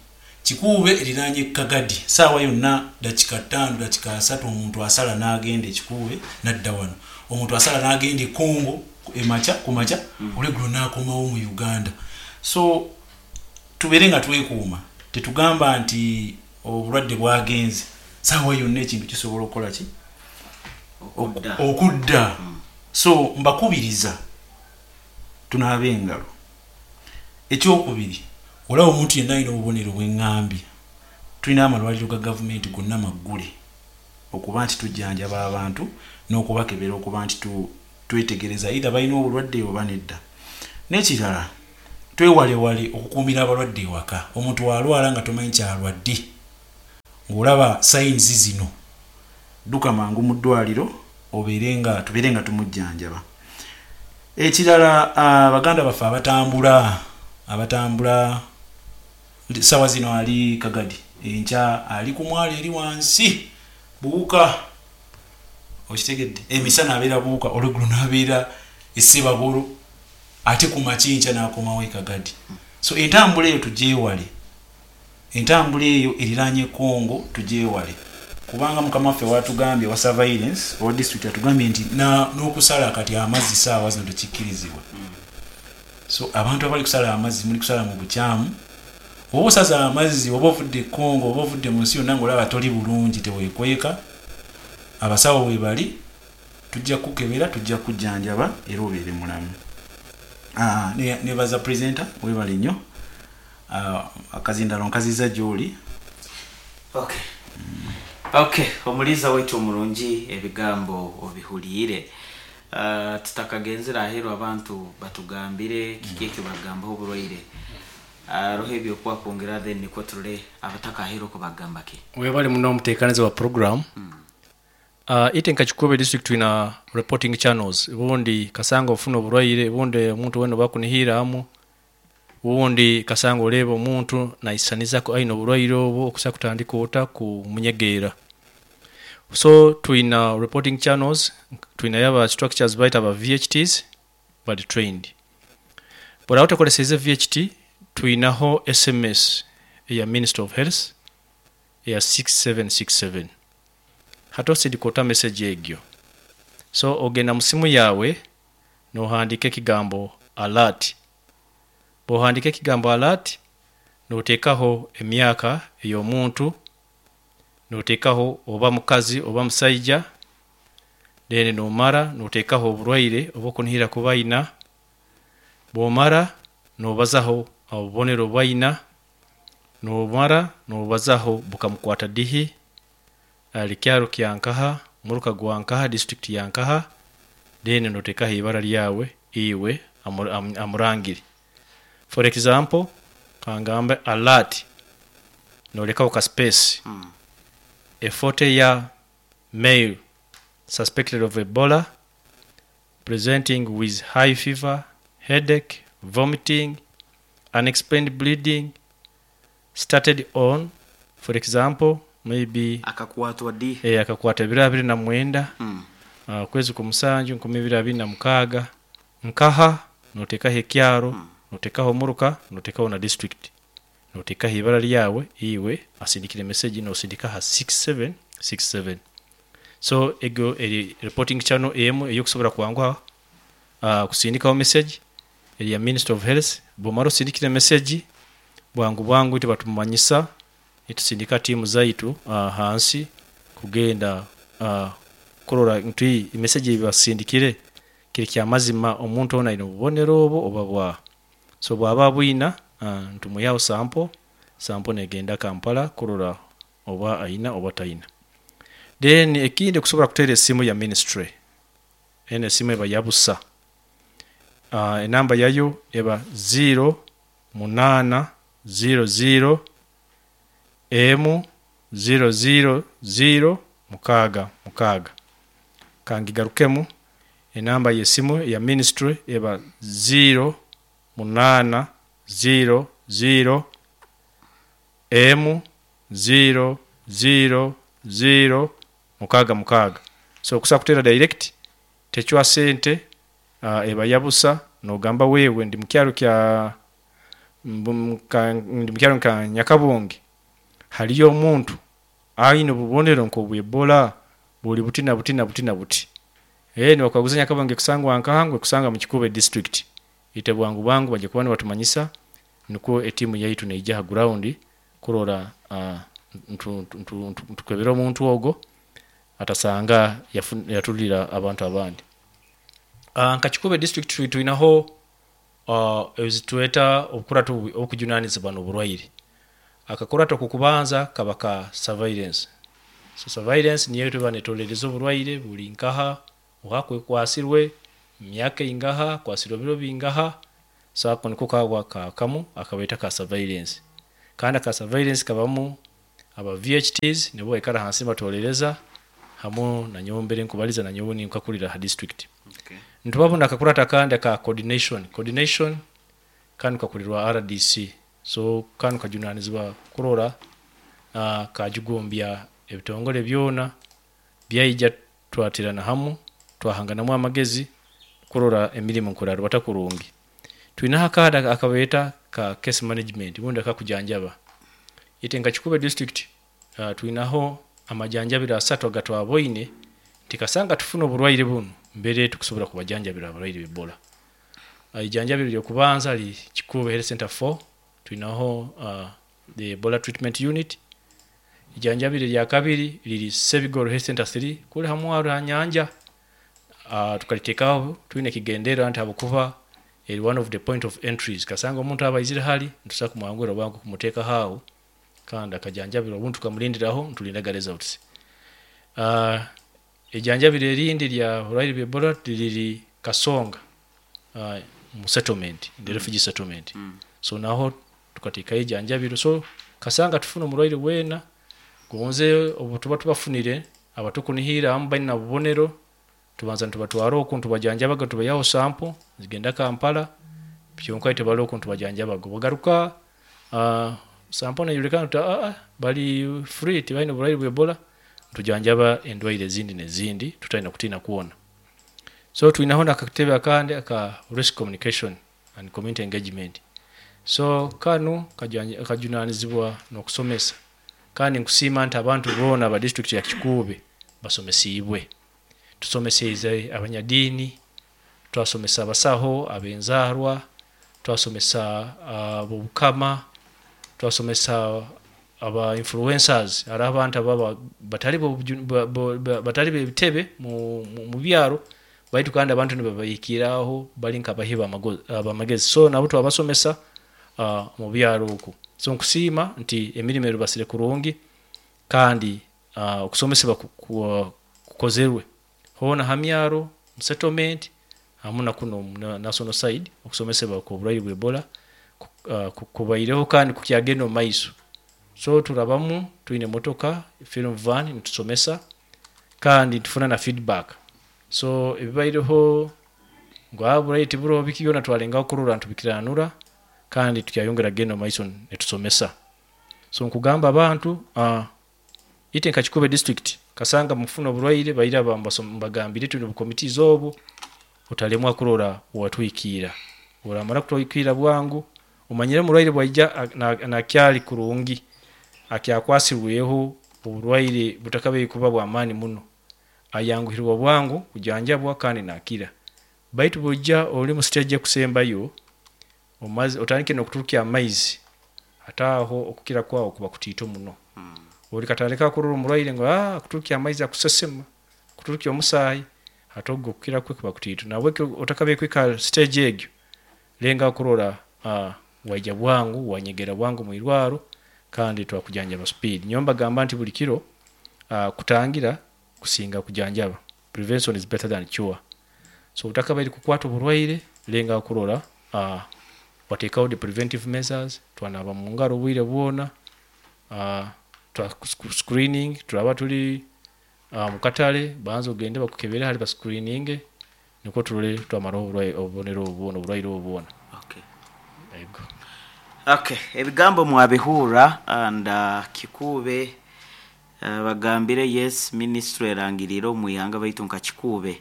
Kikuube eriraanye Kagadi, saawa yonna dakika 5, dakika 30 omuntu asala n'agenda Ekikuube nadda wano. Omuntu asala n'agenda e Congo emakya ku makya, olweggulo n'akomawo mu Uganda. So tubeere nga twekuuma. Tetugamba nti obulwadde bwagenze. Saawa yonna ekintu kisobola okukola ki? Okudda. Okudda. So mbakubiriza tunaabe engalo. Ekyokubiri, olaba omuntu yenna alina obubonero bweŋŋambye, tulina amalwaliro ga gavumenti gonna maggule okuba nti tujjanjaba abantu n'okubakebera, okuba nti twetegereza either balina obulwadde oba nedda. N'ekirala, twewalewale okukuumira abalwadde ewaka. Omuntu walwala nga tomanyi kyalwadde, ng'olaba signs zino, dduka mangu mu ddwaliro, obeere nga tubeere nga tumujjanjaba. Ekirala, baganda baffe abatambula, sawa zino ali Kagadi, enkya ali ku mwalo eri wansi Buwuka, okitegedde? Emisana abeera Buwuka, olweggulo n'abeera Essebagolo, ate ku makya n'akomawo e Kagadi. So entambula eyo tugyewale, entambula eyo eriraanye Congo tugyewale, kubanga mukama waffe watugambye wa surveillance owa district atugambye nti n'okusala kati amazzi saawa zino tekikkirizibwa. So abantu abali kusala amazzi, muli kusala mu bukyamu. Oba osaza amazzi, oba ovudde e Congo, oba ovudde mu nsi yonna, ngaolaba toli bulungi, teweekweka. Abasawo webali, tujja kukebera, tujja kujjanjaba era obeere mulamu. Nebaza presenter, webale nnyo. Akazindalo nkaziza gy'oli. Okay, omuliza waitu omurungi, ebigambo obihuliire. Tutakagenzere aheeru, abantu batugambire kiki ekibagambaho oburwaire. Aroho ebyokuba kwongera, then nikwo turole abatakaheeru okubagamba ki. Webale muno omuteekaniza wa program. Ite nka Kikuube district tulina reporting channels. Obundi kasanga ofuna oburwaire, obundi omuntu wena bakunihiramu, obundi kasanga oleba omuntu naisanizaku aina oburwaire obwo, okusa kutandika ota kumunyegeera. So tulina reporting channels, tulinayo aba structures baita aba VHTs, bali trained. Bw'oraba otakoleseize VHT, tulinaho SMS eya Ministry of Health eya 6767. Hati osindika ota message egyo? So ogenda mu simu yawe. Nohandika ekigambo alert. Bw'ohandika ekigambo alert, noteekaho emyaka ey'omuntu, noteekaho oba mukazi oba musaija, then nomara noteekaho oburwaire obu okunihira kuba aina, bwomara nobazaho obubonero obu aina, nomara nobazaho bukamukwata dihi, ali kyaro kya nkaha, muruka gwa nkaha, district ya nkaha, then noteekaho ibara lyawe iwe amurangire. For example, kangambe alert, nolekaho ka space, a 40-year male suspected of Ebola presenting with high fever, headache, vomiting, unexplained bleeding, started on, for example, maybe Akakwatwa di? Akakwata ebiro 29 okwezi kw'omusanju 2026, nkaha, noteekaho ekyaro, noteekaho omuruka, noteekaho na district, noteekaho ibara lyawe iwe asindikire message, nosindika ha 6767. So ego eri reporting channel emu ey'okusobora kwanguha kusindikaho message eri ya Ministry of Health. Bwomara osindikire message, bwangu bwangu itwe batumanyisa, nitusindika tiimu zaitu hansi kugenda kurora nti message ei basindikire kiri kyamazima, omuntu onu aine obubonero obu oba bwaha. So bwaba abwina, nitumwihaho sample, sample negenda Kampala kurora oba aina oba taina. Then ekindi, okusobora kuteera esimu ya ministry, enu esimu eba ya busa, enamba yayo eba 0800 1 000 66. Kangigarukemu, enamba y'esimu eya ministry eba 0800 1 000 66. So okusobola kuteera direct, tecwa sente, eba ya busa, nogamba wewe ndi mukyaro kya ndi mukyaro nka Nyakabunge, haliyo omuntu aine obubonero nk'obwa Ebola buli buti na buti na buti na buti. Nibakaguza Nyakabunge ekusangwa nkaha, ngu ekusangwa mu Kikuube district. Itwe bwangu bwangu baija kuba nibatumanyisa, nukwo etiimu yaitu neija ha ground kurora ntukebera omuntu ogo atasanga yatulira abantu abandi. Nka Kikuube district twinaho ezitweta obukurato obukujunanizibwa n'oburwaire. Akakurato ak'okubanza kaba ka surveillance. So surveillance niyo tuba niturolereza oburwaire buri nkaha, oha akwasirwe, myaka eingaha, akwasirwe biro bingaha. So ako niko kaba ka kamu akabeeta ka surveillance. Kandi aka surveillance kabamu aba VHTs, nibo baikara hansi nibaturolereza, hamu nanyowe mbere nkubaliza, nanyowe ninkakurira ha district. Nitubabona akakurato akandi aka coordination. Coordination kanu kakurirwa RDC. So kanu kajunanizibwa kurora kajugumbya ebitongole byona byaija twaterana hamu, twahanganamu amagezi kurora emirimo nkorarubata kurungi. Twinaho akandi akabeeta ka case management bundi akakujanjaba. Itwe nka Kikuube district twinaho amajanjabiro asatu agatwaboine nti kasanga tufuna oburwaire bunu mbere tukusobora kubajanjabira abarwaire b'Ebola. Ijanjabiro ly'okubanza li Kikuube Health Center 4, twinaho the Ebola treatment unit. Ijanjabiro erya kabiri liri Sebigoro Health Center 3, kuli ha mwaro ha nyanja. Tukaliteekaho twine ekigendererwa nti habwokuba eri one of the point of entries, kasanga omuntu aba aizire hali, nitusobola kumwanguhira bwangu kumuteekaho aho kandi akajanjabirwa, obundi tukamulindiraho nitulindaga results. Ijanjabiro erindi lya burwaire bwa Ebola liri Kasonga mu settlement, the refugee settlement. So naho tukateekayo ijanjabiro. So kasanga tufuna omurwaire weena, gonze obu tuba tubafunire abatukunihira abamu baina obubonero, tubanza nitubatwara oku nitubajanjabaga, nitubaihaho sample zigenda Kampala, kyonka itwe bali oku nitubajanjabaga. Bagaruka sample neyoleka nti bali free, tibaine burwaire bwa Ebola, nitujanjaba endwaire ezindi n'ezindi tutaina kutiina kwona. So twinaho n'akatebe akandi aka risk communication and community engagement. So kanu kajunanizibwa n'okusomesa, kandi nkusiima nti abantu boona aba district ya Kikuube basomesiibwe. Tusomeseize abanyadiini, Twasomesa abasaho ab'enzaarwa, twasomesa ab'obukama, twasomesa aba influencers, hariho abantu ababa batali batali b'ebitebe mu byaro, baitu kandi abantu nibabahikiiraho bali nk'abahi b'amagezi, so nabo twabasomesa mu byaro oku. So nkusiima nti emirimo erubasire kurungi kandi okusomesebwa kukozerwe hoona ha myaro, mu settlement hamu na kunu omu national side, okusomesebwa kw'oburwaire bwa Ebola kubaireho kandi kukyagenda omu maiso. So turabamu twine emotoka film van nitusomesa kandi nitufuna na feedback. So ebibaireho ngu oburwaire tiburoho biki byona twalengaho kurora nitubikiranura kandi tukyayongera kugenda omu maiso nitusomesa. So nkugamba abantu itwe nka Kikuube district kasanga mufuna oburwaire baira mbagambire twine obucommittees obu, otalemwa kurora watwikiira. Oramara kutwikiira bwangu, omanyire omurwaire bwaija nakyali kurungi, akyakwasirweho oburwaire butakabaire kuba bw'amaani muno, ayanguhirwa bwangu kujanjabwa kandi nakira. Baitu bw'oija ori mu stage ekusembayo, otandike n'okuturukya amaizi, hati aho okukira kwawe kuba kutiito muno. Ori katandika kurora omurwaire ngu akuturukya amaizi akusesema, akuturukya omusaayi, hati ogwo okukira kwe kuba kutiito. Nahabwekyo otakabaire kuhika stage egyo, lengaho kurora waija bwangu, wanyegera bwangu mwirwaro kandi twakujanjaba speed. Nyowe mbagamba nti buli kiro kutangira kusinga kujanjaba. Prevention is better than cure. So otakabaire kukwata oburwaire, lengaho kurora wateekaho the preventive measures, twanaaba mu ngaro obwire bwona, twa screening, turaba turi mu katare, banza ogende bakukebere hali bascreeninge, nikwo turole twamaraho obubonero obu bwona, oburwaire obu bwona. Okay. Ego. Okay, ebigambo mwabihurra and Kikuube bagambire yes ministry erangiriire omu ihanga baitu nka Kikuube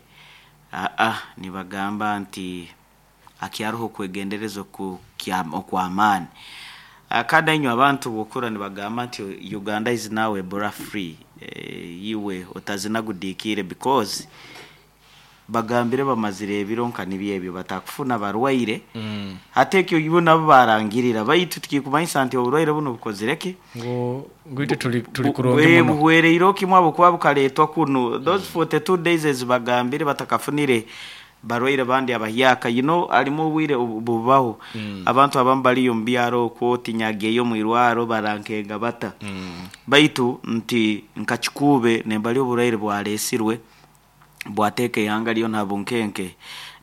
nibagamba nti akyaroho okwegendereza okw'amaani. Kandi inywe abantu bwokura nibagamba nti Uganda is now Ebola free, iwe otazinagudikiire because bagambire bamazire ebiro nka nibyo ebyo batakufuna barwaire. Hati ekyo ibo nabo barangirira, baitu tikikumanyisa nti oburwaire bunu bukozire ki? Ngu itwe tuli kurungi muno. Buhwereire kimwe habwokuba bukareetwa kunu. Those 42 days ezibagambire batakafunire barwaire bandi abahyaka, you know, harimu obwire bubaho. Abantu abamu bariyo omu byaro okwo tinyagiyeyo omu irwaro barankenga bata. Baitu nti nka Kikuube nembali oburwaire bwareesirwe bwateeka eihanga ryona ha bunkenke,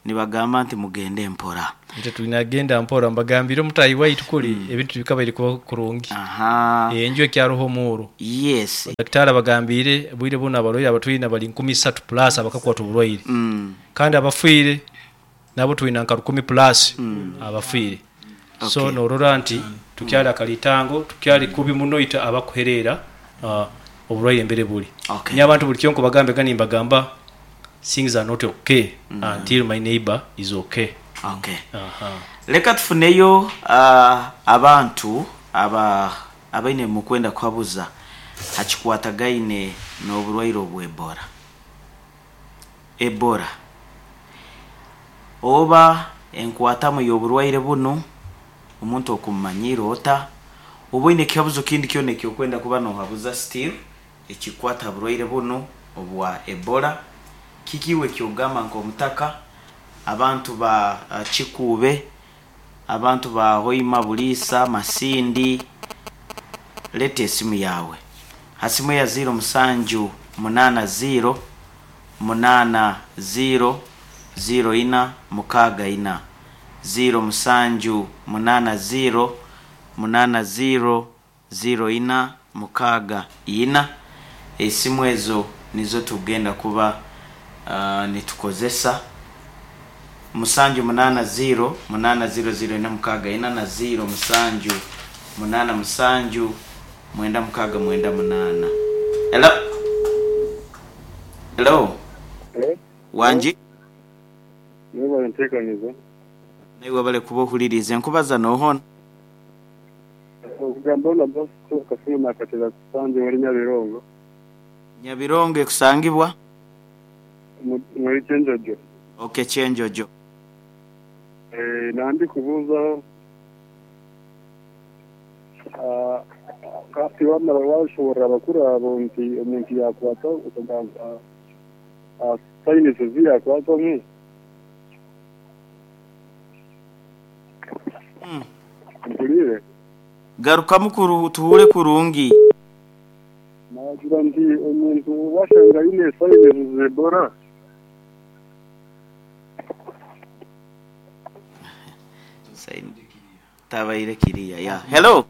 nibagamba nti mugende mpora. Itwe twine agenda mpora, mbagambire omutaahi waitu kuri ebintu tibikabaire kuba kurungi. Enju ekyaroho omuuro. Daktari abagambire obwire bunu abarwaire abatwine bari 3000 plus abakakwata oburwaire. Kandi abafiire nabo twina nka 1000 plus abafiire. So norora nti tukyali akalitango, tukyali kubi muno itwe abakuhereera oburwaire embere buri. Nyowe abantu buli kiro nkubagambe gani nimbagamba things are not okay until my neighbor is okay. Okay. Leka tufuneyo abantu abaine mukwenda kuhabuza hakikwatagaine n'oburwaire obwa Ebola. Ebola oba enkwatamu y'oburwaire bunu omuntu okumumanyira ota, oba oine ekihabuzo kindi kyona ekyokwenda kuba nohabuza still ekikwata ha burwaire bunu obwa Ebola, kiki iwe ekyogamba nk'omutaka, abantu ba Kikuube, abantu ba Hoima, Buliisa, Masindi, leta esimu yawe ha simu ya 0 7 8 0 8 0 0 4 6 4 0 7 8 0 8 0 0 4 6 4. Esimu ezo nizo tugenda kuba nitukozesa 7 8 0 8 0 0 4 6 4 na 0 7 8 7 9 6 9 8. Hello? Hello? Hello? Wangi? Mwebale nteekaniza. Naiwe bale kuba ohuliriize nkubaza nohona. Okugamba na Bosco Kasimu nakatera kusanje wali Nyabirongo. Nyabirongo ekusangibwa? Muri Kyenjojo. Okay, Kyenjojo. Nandi kubuuza kati wamara washoborera abakuru abo nti omuntu yakwata okugamba sayinizi yakwatamu. Mpulire. Garukamu tuhure kurungi. Nagira nti omuntu washanga aine sayinizi z'Ebola. Tabaire kiriya ya. Hello.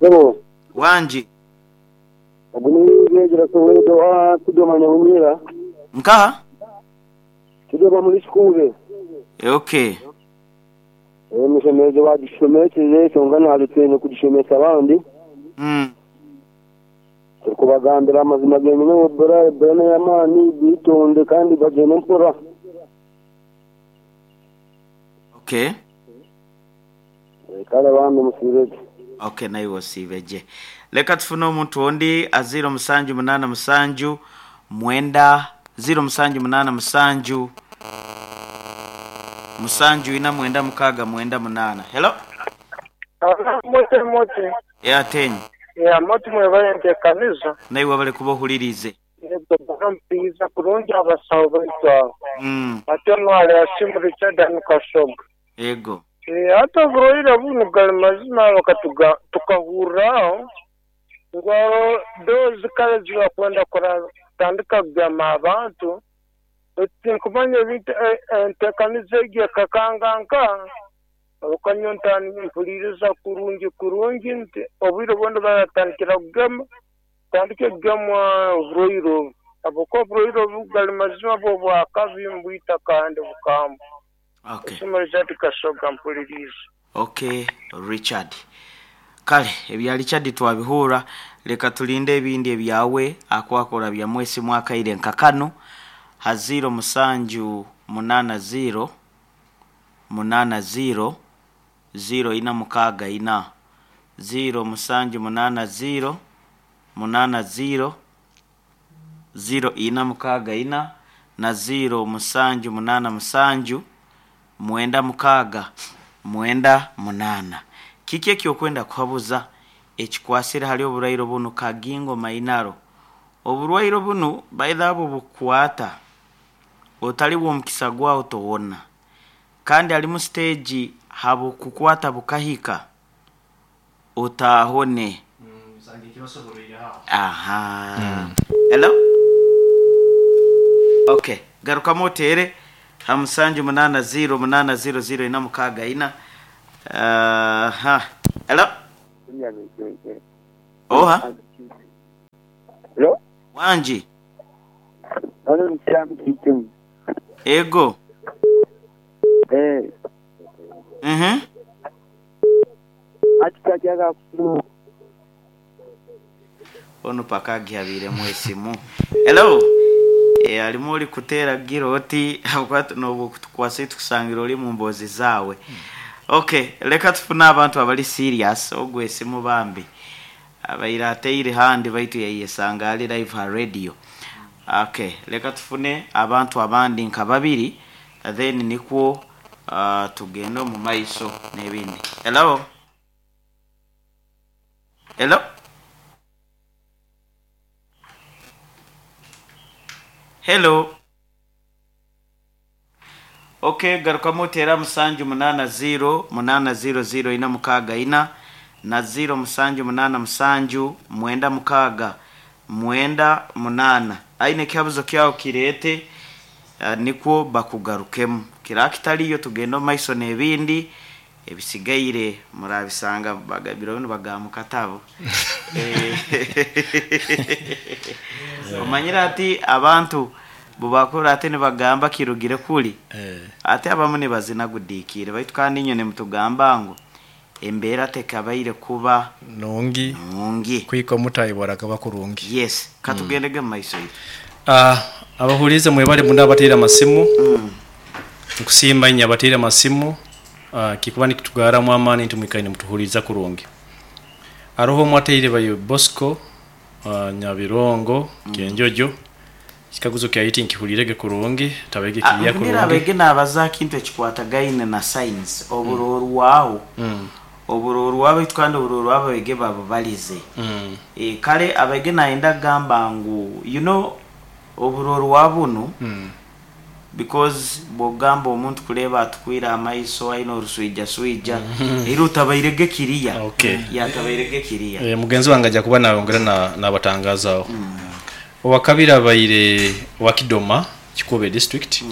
Hello. Wanji. Ogunigira sowedo wa kudoma nyamira. Nkaha? Kidoma muri shikube. Okay. Emishemezo bagishomekeze songa nalutene kugishomesa abandi. Tukubagambira amazima genyine Ebola Ebola y'amaani bitonde kandi bagende mpora. Okay. Kale bambi musibeje. Okay, nawe wosibeje. Leka tufune omuntu ondi a 0787 9 0787 7 4 96 98. Hello. Mote mote. Ya tenyi. Ya mote mwe kanisa. Nawe wabale kubohulirize. Mpiza kurungi abasawo baitu. Ate nwale asimu Richard Kashoga. Ego. Hata oburwaire buno gali mazima tukahurraho ngo dozi kale zibakwenda kutandika kugema abantu tinkumanya ebintu entekaniza egi ekakanganka olukanyonta mpuliriza kurungi kurungi nti obwire bwoona baratandikira kugema tandike kugemwa oburwaire obu habwokuba oburwaire obu gali mazima bwo bwakabi mbwita kandi bukamba. Okay. Okay, Richard. Kale, ebya Richard twabihura, leka tulinde ebindi ebyawe akwakora bya mwesi mwaka ile nkakano ha 07 80 80 0 ina mukaga ina 0 7 80 80 0 ina mukaga ina na 0 7 8 7 6 98. Kiki ekyokwenda kuhabuza ekikwasire hali oburwaire bunu kagingo mainaro. Oburwaire bunu baitha abo bukwata otali omukisa gwawo towona. Kandi ali mu stage habo kukwata bukahika otahone. Aha. Hello. Okay, garuka motere. 7 8 0 8 0 0 ina mukaga ina. Hello. Oha. Hello. Wanji. Ego. Ono pakagihabire mwesimu. Hello. Alimu oli kutera giroti nobu kutukwasa tukusangira oli mu mbozi zawe. Okay, leka tufuna abantu abali serious ogwe esimu bambi. Abaira ateire handi baitu yayesanga ali live ha radio. Okay, leka tufune abantu abandi nka babiri then nikwo tugende mu maiso n'ebindi. Hello. Hello. Hello. Okay, garuka motera 7 8 0 8 0 0 ina mukaga ina na 0 7 8 7 9 6 98. Aine kihabuzo kyao kirete nikwo bakugarukemu. Kirakitaliyo tugendo maiso n'ebindi ebisigaire murabisanga bagabiro bino bagamukatabo. Omanyira ati abantu bubakora ate nibagamba kirugire kuli ate abamu nibazina gudikire baitu kandi nyone mutugamba ngo embeera tekabaire kuba nungi nungi kwiko mutayibora kaba kurungi. Yes, katugendege mu maiso yitu. Abahulize mwebale munda abateera amasimu. Nkusimba nnyo abateera amasimu kikuba nikitugaramu amaani nti mwikaine mutuhuliza kurungi. Aroho mwateire bayo Bosco Nyabirongo Kenjojo Ekikaguzo kyaiti nkihulirege kurungi, tabaige kiriya Ngira kurungi. Abege nabaza kintu ekikwatagaine na science oburorwaho, oburorwaho, baitu kandi oburorwaho abege babubalize. Kale abege nayenda kugamba ngu oburorwa bunu, because bwogamba omuntu kureba atukwire amaiso aine oruswija swija, era otabairege kiriya. Okay. Yatabairege kiriya. Mugenzi wange ajja kuba nayongera nabatangazaaho. Owakabiri abaire wa Kidoma, Kikuube district.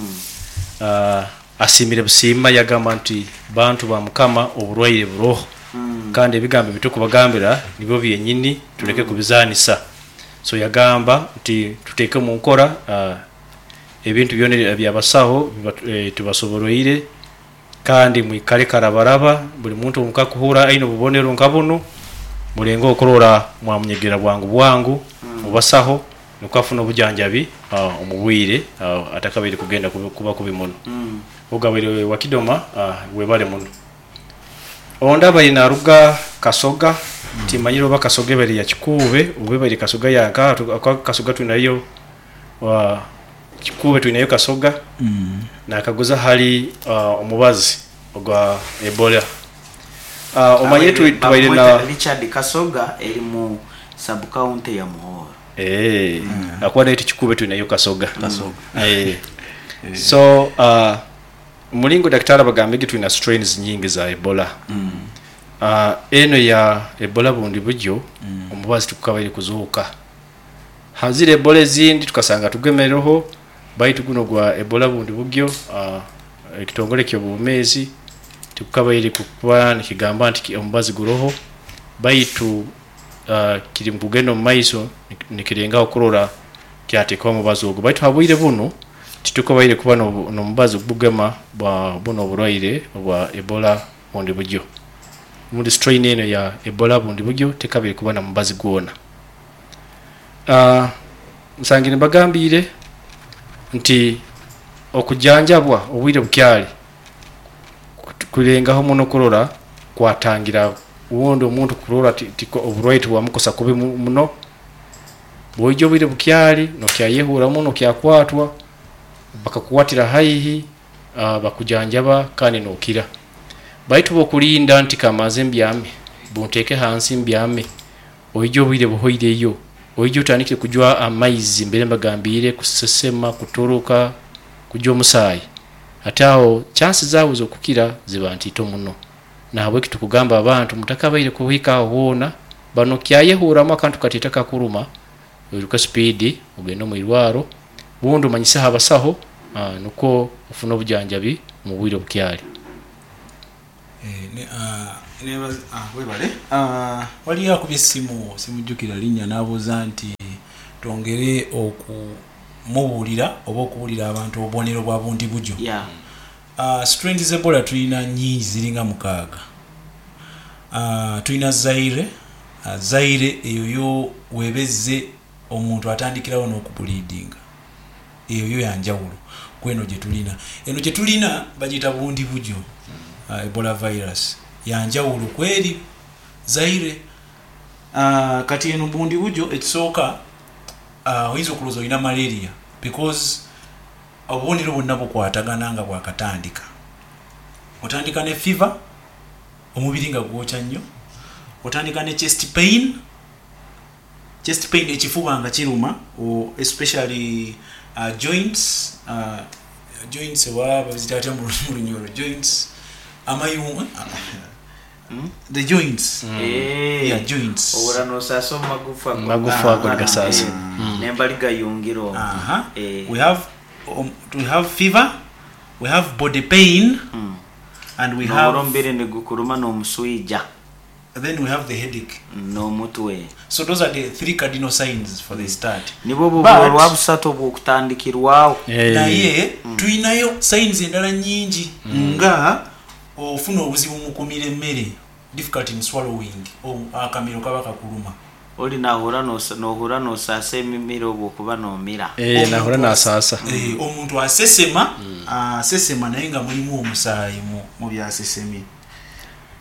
Asimire busiima, yagamba nti bantu ba Mukama, oburwaire buroho, kandi ebigambo bitukubagambira nibyo byenyini, tuleke kubizanisa. So yagamba nti tuteeke mu nkora ebintu byona ebyabasaho tubasoboroire, kandi mwikale karabaraba. Buli muntu omukakuhura aine obubonero nka bunu, mulenge okurora mwamunyegera bwangu bwangu mubasaho, nukwo afune obujanjabi omu bwire atakabaire kugenda kuba kubi muno. Ogabaire wa Kidoma, webale muno. Ondi abaire naruga Kasoga, timanyire oba Kasoga ebaire ya Kikuube oba ebaire Kasoga yanka. Kasoga twinayo, Kikuube twinayo Kasoga. Nakaguza hali omubazi ogwa Ebola. Omanye tubaire na Richard, Kasoga eri mu sub county ya Muhoro. Akuba naye Kikuube twinayo Kasoga. So mulingo daktari abagambege, tulina strains nyingi za Ebola. Eno ya Ebola bundi bujyo, omubazi tukukabaire kuzuuka. Hazire Ebola ezindi tukasanga tugemereho, baitu guno gwa Ebola bundi bugyo, ekitongole ky'obwomeezi tikukabaire kuba nikigamba nti omubazi guroho, baitu kiri mukugenda omu maiso nikirengaho kurora kyateekaho omubazi ogwo, baitu habwire bunu titukabaire kuba n'omubazi gugema bwa buno oburwaire obwa Ebola bundi bugyo. Muri strain eno ya Ebola bundi bugyo tekabaire kuba na mubazi gwona. Nsangire mbagambire nti okujanjabwa obwire bukyali kulengaho muno kurora kwatangira wundi omuntu kurora oburwaire tibwamukosa kubi muno. Bwoija obwire bukyali nokyayehura muno, kyakwatwa bakakukwatira haihi, bakujanjaba kandi nokira. Baitu bokulinda nti kamanze mbyame, bunteeke hansi mbyame, oija obwire buhoireyo, oija otandikire kujwa amaizi, mbere mbagambire, kusesema, kutoroka, kujwa omusaayi, ate aho chansi zaawe z'okukira ziba ntito muno. Nahabweki tukugamba abantu mutakabaire kuhika aho hoona, bano kyayehuramu akantu katita kakuruma, oiruke speed ogende omu irwaro, bundi omanyiseho abasaho, nukwo ofune obujanjabi omu bwire obukyali. Webale. Waliyo akubye essimu, simujjukira linnya, n'abuuza nti twongere okumubuulira oba okubuulira abantu obubonero bwa bundi bujo. Strains z'Ebola tulina nyingi, ziringa 6. Tulina Zaire. Zaire eyo yo webezze omuntu atandikirawo n'okubleedinga, eyo yo yanjawulo kweno gye tulina. Eno gye tulina bagiyita bundi bujo, Ebola virus yanjawulo kweri Zaire. Kati eno bundi bujo ekisooka, oyinza okulowooza olina malaria because obubonero bwonna bukwatagana nga bwakatandika. Otandika ne fever, omubiri nga gwokya nnyo, otandika ne chest pain, chest pain ekifuba nga kiruma, especially joints, joints oba baziyita batya mu Lunyoro, joints, amayungu, the joints. Yeah, joints. Obura nosasa omu magufa. Magufa ago nigasasa. Nembali gayungiro. We have fever, we have body pain, and we have Noburombere nigukuruma n'omuswija. Then we have the headache. N'omutwe. So those are the three cardinal signs for the start. Nibwo buburo rwa busatu obwokutandikirwaho. Naye tulinayo signs endala nyingi, nga ofuna obuzibu mu kumira emmere, difficult in swallowing, akamiro kaba kakuluma. Oli nahura nohura nosasa emimiro obwokuba nomira. Nahura nasasa. Omuntu asesema, asesema naye nga mulimu omusaayi mu byasesemye.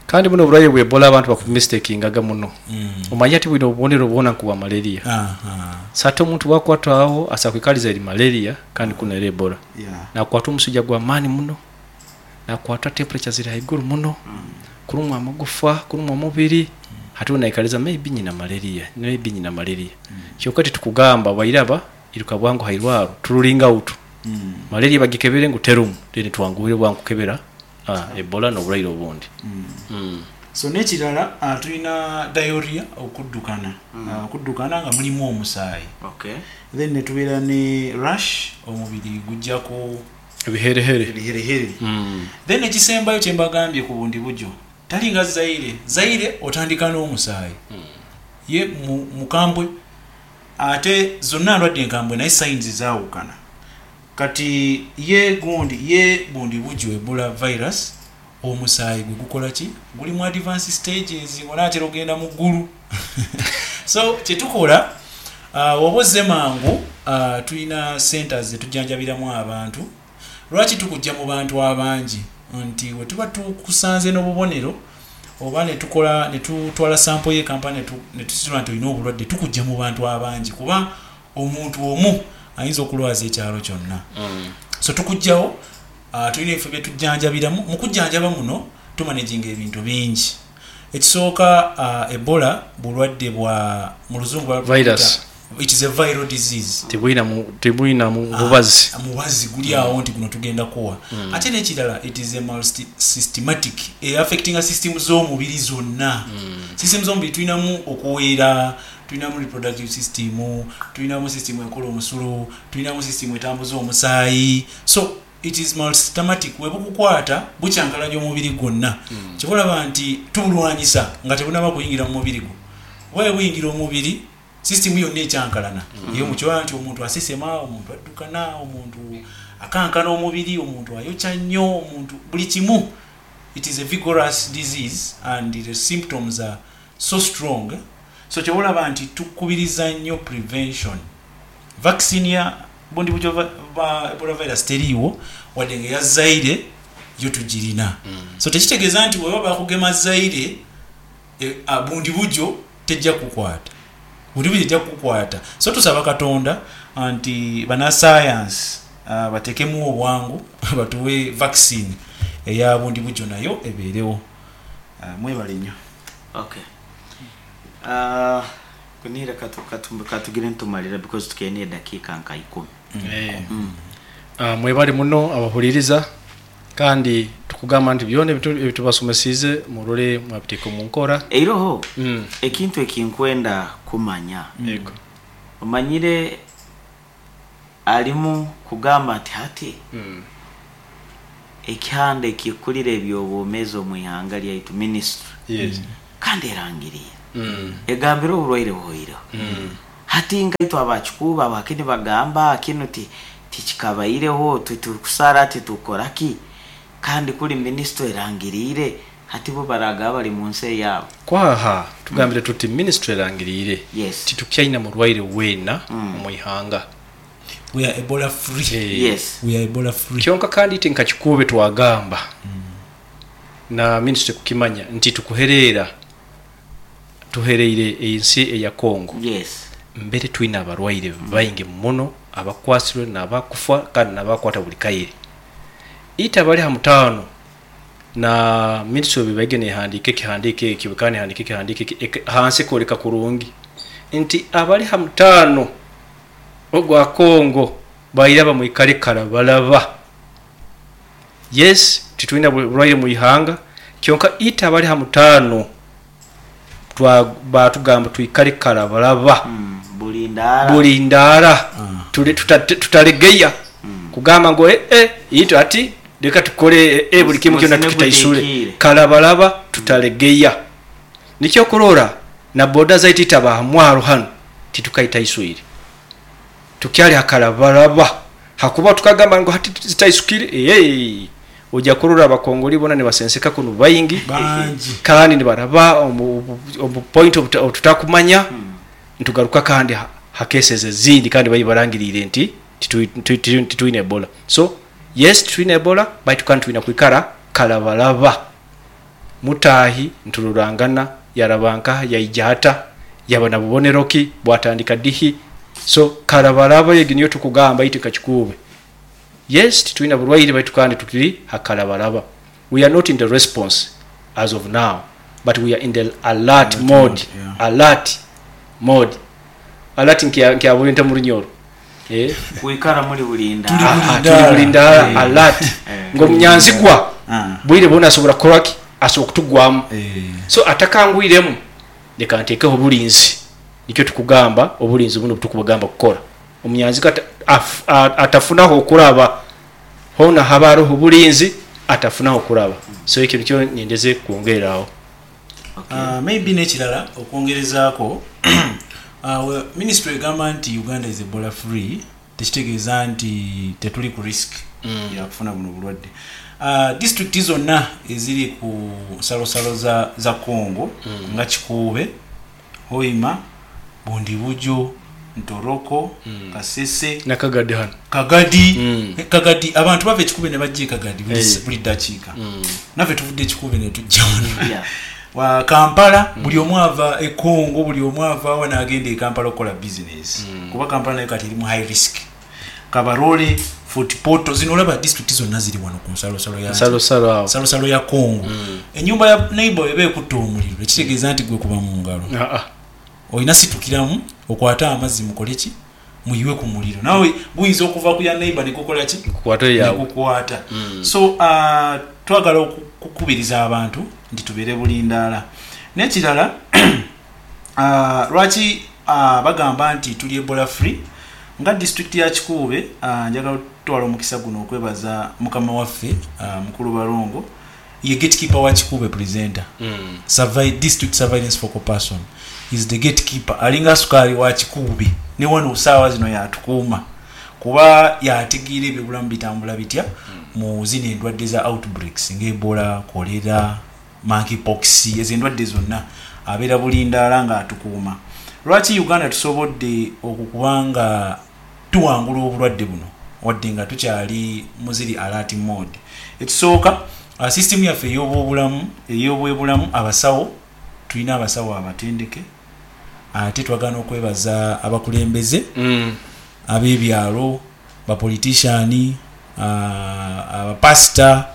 Kandi buno obulwaire bwa Ebola abantu bakumistakingaga muno. Omanye ati bwine obubonero bwona nk'obwa malaria. So ate omuntu bwakwatwaho asobola kwikaliza eri malaria kandi kunu eri Ebola. Nakwatwa omusujja gw'amaani muno, nakwatwa temperature ziri haiguru muno, kurumwa amagufa, kurumwa omubiri, hati we naikaliza maybe nyina malaria, maybe nyina malaria. Kyonka titukugamba bairaba iruka bwangu hairwaro turulinga out. Malaria bagikebere ngu terumu, then twanguhire bwangu kukebera Ebola n'obulwaire obundi. So n'ekirala, tulina diarrhea, okuddukana, okuddukana nga mulimu omusaayi. Then netubeera ne rash, omubiri gujjako ebiherehere. Ebiherehere. Then ekisembayo kyembagambye ku bundi bujo, talinga Zaire. Zaire otandika n'omusaayi, ye mukambwe, ate zonna ndwadde nkambwe, naye signs zaawukana. Kati ye gundi ye bundi bujo Ebola virus, omusaayi gwe gukola ki? Guli mu advance stages, ngonaatera ogenda mu ggulu. So kyetukola, oba ozze mangu, tulina centers zetujjanjabiramu abantu. Lwaki tukujja mu bantu abangi? Nti we tuba tukusanze n'obubonero oba netukola netutwala sample ye kampani netusitula nti olina obulwadde, tukujja mu bantu abangi, kuba omuntu omu ayinza okulwaza ekyalo kyonna. So tukugjawo, tulina ebifo byetujjanjabiramu. Mu kujjanjaba muno tumanaginga ebintu bingi. Ekisooka, Ebola bulwadde bwa mu luzungu virus. It is a viral disease. Tebulina bubazi. Mubazi guli awo nti guno tugenda kuwa. Ate n'ekirala, it is a multisystematic, affectinga system z'omubiri zonna. System z'omubiri tulinamu okuweera, tulinamu reproductive system, tulinamu system ekola omusulo, tulinamu system etambuza omusaayi. So it is multisystematic. Webukukwata bukyankalanya omubiri gwonna. Kyebalaba nti tubulwanyisa nga tebunaba kuyingira mu mubiri gwo, oba bwe buyingira omubiri, system yonna ekyankalana. Eyo mukiraba nti omuntu asesema, omuntu addukana, omuntu akankana omubiri, omuntu ayokya nnyo, omuntu buli kimu. It is a vigorous disease and the symptoms are so strong. So kyebalaba nti tukubiriza nnyo prevention. Vaccine ya bundi bujo Ebola virus teriiwo, wadde nga eya Zaire yo tugirina. So tekitegeeza nti weba bakugema Zaire, bundi bujo tejja kukwata, bundi bujo ejja kukwata. So tusaba Katonda nti banasayansi batekemu obwangu batuwe vaccine eya bundi bujo nayo ebeerewo. Mwebale nnyo. Okay. Kunihira katugire ntumalira because tukene edakiika nka 10. Mwebale muno abahuliriza, kandi tukugamba nti byona ebitubasomesize murole mwabiteeka omu nkora. Eiroho ekintu ekinkwenda kumanya. Yego. Omanyire alimu kugamba nti hati ekihanda ekikulira ebyobwomeezi omu ihanga lyaitu, ministry, kandi erangiriire, egambire oburwaire buhoireho. Hati nkaitwe abakikuuba abakini bagamba kinu tikikabaireho, tukusara titukora ki, kandi kuli ministry erangiriire, hati bo baraga bali mu nsi eyaabo. Kwaha tugambire tuti ministry erangiriire titukyaina murwaire weena omu ihanga. We are Ebola free. We are Ebola free. Kyonka kandi ite nka Kikuube twagamba na ministry kukimanya nti tukuhereera tuhereire ensi eya Congo. Mbere twina abarwaire baingi muno abakwasirwe n'abakufa kandi n'abakwata buli kaire. Ite abali ha mutaano na ministry bibaige nehandika ekihandiko ekyo, kandi nehandika ekihandiko hansi kwoleka kurungi nti abali ha mutaano ogwa Congo bairaba mwikale kalabalaba. Yes, titulina bulwaire mu ihanga, kyonka ite abali ha mutaano batugamba twikale kalabalaba. Buli ndaara. Buli ndaara. Tutalegeya kugamba ngu ito ati leka tukole buli kimu kyona tukitaisule. Musine. Kalabalaba tutalegeya. Nikyo kurora na boda zaitu itaba hamwaro hano titukaitaisuire, tukyali hakalabalaba. Hakuba tukagamba ngu hati zitaisukire, ojja kurora abakongoli bona nibasenseka kuno baingi. Bangi. Kandi nibaraba omu point obututakumanya, ntugaruka kandi hakeseze ezindi, kandi bayibarangirire nti titwine Ebola. So yes, titwine Ebola, baitu kandi twina kwikara kalabalaba. Mutahi ntururangana, yaraba nkaha, yaija hata, yaba na bubonero ki, bwatandika dihi. So karabaraba egi niyo tukugamba itwe Kakikuube. Yes, titwina burwaire, baitu kandi tukiri hakarabaraba. We are not in the response as of now, but we are in the alert mode. Alert mode. Alert nkyabulenta mu Runyoro. Kwikara muri bulinda. Tuli bulinda alert. Ng'omunyanzigwa bwire bona asobora kukoraki, asobora kutugwamu. So atakangwiremu leka ntekeho obulinzi. Nikyo tukugamba obulinzi buno butukubagamba kukora. Omunyanzigwa atafunaho okuraba, hona haba hariho obulinzi atafunaho okuraba. So ekyo nikyo nyendeze kwongeraho. Maybe n'ekirala okwongerezaako, ministry egamba nti Uganda is Ebola free, tekitegeeza nti tetuli ku risk yakufuna buno bulwadde. District zonna eziri ku nsalosalo za Congo, nga Kikuube, Hoima, Bundibugyo, Ntoroko, Kasese, Nakagadi hano. Kagadi. Kagadi, abantu bava Ekikube ne bajja e Kagadi buli dakiika. Naffe tuvudde Ekikube ne tujja wano. Wa Kampala, buli omu ava e Congo, buli omu ava awa n'agenda e Kampala okukola business. Kuba Kampala nayo kati eri mu high risk. Kabarole, Fort Portal, zino olaba district zonna ziri wano ku nsalosalo ya Nsalosalo awo. Nsalosalo ya Congo. Ennyumba ya neighbor eba ekutta omuliro, ekitegeeza nti gwe kuba mu ngalo. Olina situkiramu okwate amazzi mukole ki? Muyiwe ku muliro. Nawe guyinza okuva ku ya neighbor ne gukola ki? Kukwata yawe. Ne gukwata. So twagala okukubiriza abantu nti tubeere bulindaala. N'ekirala, lwaki bagamba nti tuli Ebola free? Nga district ya Kikuube, njagala okutwala omukisa guno okwebaza mukama waffe, Mukulu Barongo, ye gatekeeper wa Kikuube presenter. District surveillance focal person is the gatekeeper. Alinga sukaali wa Kikuube ne wano saawa zino yatukuuma, kuba yategeera ebyobulamu bitambula bitya mu zino endwadde za outbreaks nga Ebola, cholera, monkeypox, ezo endwadde zonna abeera bulindaala ng'atukuuma. Lwaki Uganda tusobodde okukuba nga tuwangula obulwadde buno wadde nga tukyali mu ziri alert mode? Ekisooka, system yaffe ey'obwobulamu, abasawo, tulina abasawo abatendeke, ate twagala okwebaza abakulembeze ab'ebyalo, bapolitician, abapasita,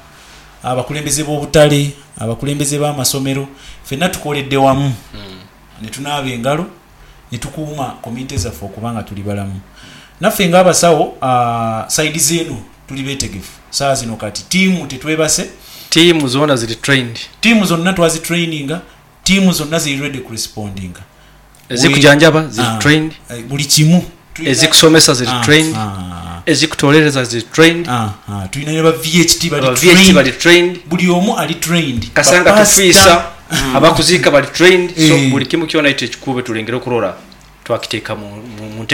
abakulembeze b'obutale, abakulembeze b'amasomero, ffenna tukoledde wamu ne tunaaba engalo ne tukuuma community zaffe okuba nga tuli balamu. Naffe ng'abasawo, side zeeno tuli beetegefu. Saawa zino kati tiimu tetwebase. Tiimu zonna ziri trained. Tiimu zonna twazitraininga, tiimu zonna ziri ready kurespondinga. Ezikujanjaba ziri trained. Buli kimu. Ezikusomesa ziri trained. Ezikutolereza ziri trained. Tulina ne ba VHT bali Aba VHT trained. bali trained. Buli omu ali trained. Kasanga Ba tufiisa, pastor. abakuziika bali trained. So buli kimu kyona ekyo ekikube tulengere okurora twakiteeka mu